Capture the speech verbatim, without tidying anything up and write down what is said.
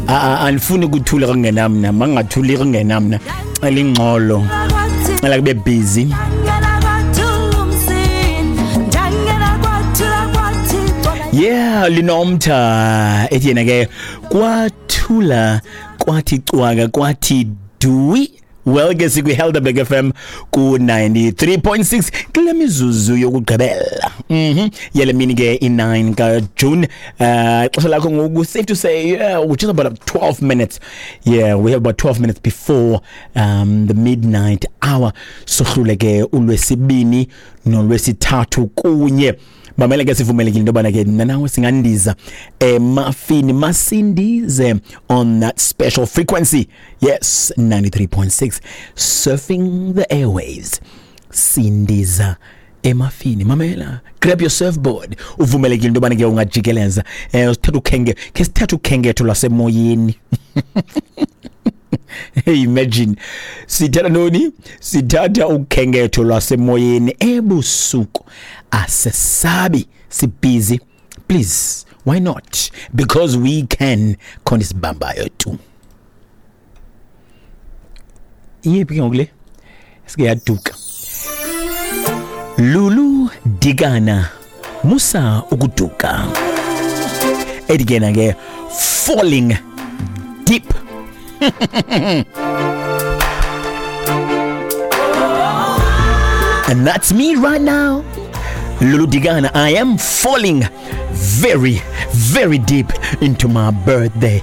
Andifuni kuthula kungenamna, mangathuli kungenamna. Cela ingxolo, cela kube busy. Yeah, Linomtha ethi yena ke kwathula kwathi cwaka kwathi dui. Well ke sikwi Helderberg F M ku ninety-three point six kule mizuzu yokugqibela. Mhm. Yele mini ke i nine ka June. Uh xesha lakho ngoku safe to say yeah, which is about twelve minutes. Yeah, we have about twelve minutes before um the midnight hour. Sohlule ke ulwesibini nolwesithathu kunye. Mamela ke sivumelekile into yobana ke nawe singandiza emafini, masindize on that special frequency. Yes, ninety-three point six, surfing the airwaves. Sindiza emafini. Mamela, grab your surfboard. Uvumelekile into yobana ke ungajikeleza. Eh usithatha ukhenge, ke sithatha ukhenketho lwasemoyeni. Hey, imagine sithatha ntoni? Sithatha ukhenketho lwasemoyeni ebusuku. Asesabi, sibhizi. Please, why not? Because we can. Khona isibambayo tu. Iyephi ke ngoku le? Sike yaduka. Lulu Dikana, musa ukuduka. Ethi ke yena ke falling deep. And that's me right now. Lulu Dikana, I am falling very, very deep into my birthday.